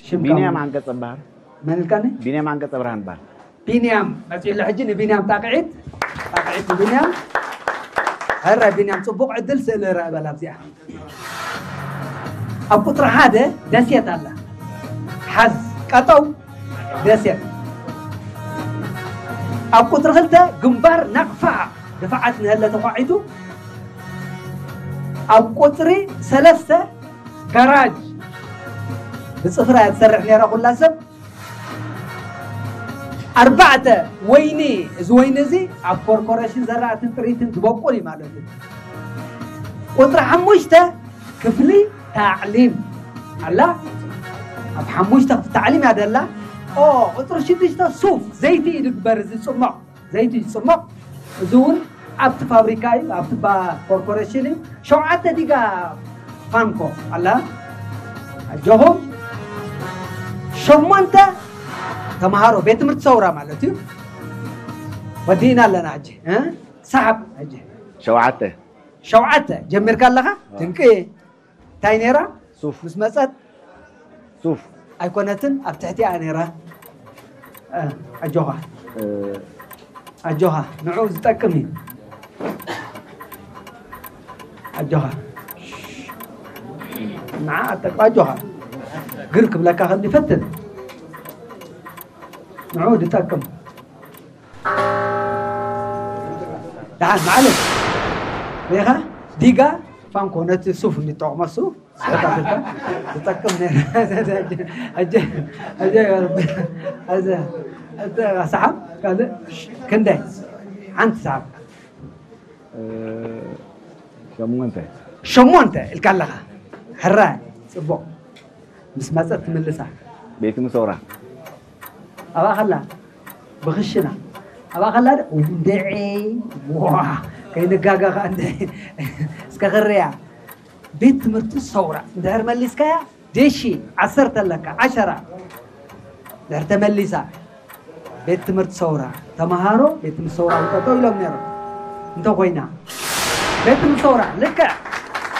ሽምካ ቢንያም መን? ዓንቀጸ በሃር። መን ኢልካኒ? ቢንያም ዓንቀጸ ብርሃን በሃል። ቢንያም መጺኡ ኣሎ ሕጂ። ንቢንያም ጣቕዒት፣ ጣቕዒት ንቢንያም። ሕራይ ቢንያም፣ ጽቡቕ ዕድል፣ ስእሊ ርአ በላ ኣብዚኣ። ኣብ ቁጽሪ ሓደ ደሴት ኣላ። ሓዝ ቀጠው ደሴት። ኣብ ቁጽሪ ክልተ ግንባር ናቕፋ፣ ድፋዓት ንሀለ ተኳዒቱ። ኣብ ቁጽሪ ሰለስተ ጋራጅ፣ ብጽፍራ እያ ትሰርሕ ነይራ ኩላ ሰብ። ኣርባዕተ ወይኒ፣ እዚ ወይኒ እዚ ኣብ ኮርፖሬሽን ዘራእትን ጥሪትን ዝበቁል እዩ ማለት እዩ። ቁጽሪ ሓሙሽተ ክፍሊ ታዕሊም ኣላ። ኣብ ሓሙሽተ ክፍሊ ታዕሊም እያ ደላ። ኦ፣ ቁጽሪ ሽዱሽተ ሱፍ፣ ዘይቲ እዩ ድግበር፣ እዚ ጽሞቕ፣ ዘይቲ እዩ ጽሞቕ። እዚ እውን ኣብቲ ፋብሪካ እዩ፣ ኣብቲ ባ-፣ ኮርፖሬሽን እዩ። ሸውዓተ ዲጋ ፋንኮ ኣላ። ኣጆኹም። ሸሞንተ ተምሃሮ ቤት ትምህርቲ ሰውራ ማለት እዩ። ወዲእና ኣለና ሕጂ፣ እ? ሰሓብ ሕጂ። ሸውዓተ። ሸውዓተ ጀሚርካ ኣለኻ? ድንቂ። እንታይ ነይራ? ሱፍ። ምስ መጸት? ሱፍ። ኣይኮነትን፣ ኣብ ትሕቲኣ ነይራ። እ፣ ኣጆኻ። እ፣ ኣጆኻ፣ ንዑ ዝጠቅም እዩ። ኣጆኻ። ንዓ ኣጠቅ-፣ ኣጆኻ። ግር ክብለካ ከም ዝፈትን። ንዑ ዝጠቅም። ደሓን፣ ማዕለሽ። ሪኢኻ? ዲጋ ፋንኮ ነቲ ሱፍ እንጠቕሞ ሱፍ፣ ስሕታት እኳ ትጠቅም ነይራ። ሕጂ፣ ሕጂ፣ ሕጂ፣ ሕጂ፣ ሰሓብ፣ ካልእ፣ ክንደይ? ሓንቲ ሰሓብ። እ፣ ሸሞንተ። ሸሞንተ ኢልካ ኣለኻ። ሕራይ፣ ጽቡቕ። ምስ መጸት ትምልሳ። ቤት ምሶራ። ኣብኣ ከላ፣ ብኽሽና። ኣብኣ ከላ ዶ? እንድዒ፣ ዋ፣ ከይንጋገ ኸኣ እንድዒ። እስከ ክርያ። ቤት ትምህርቲ ሰውራ። እንድሕር መሊስካያ፣ ደሺ፣ ዓሰርተ ኣለካ፣ ዓሸራ። እንድሕር ተመሊሳ፣ ቤት ትምህርቲ ሰውራ። ተምሃሮ፣ ቤት ትምህርቲ ሰውራ ጠጠው ኢሎም ነይሮም። እንተ ኮይና፣ ቤት ትምህርቲ ሰውራ፣ ልክዕ።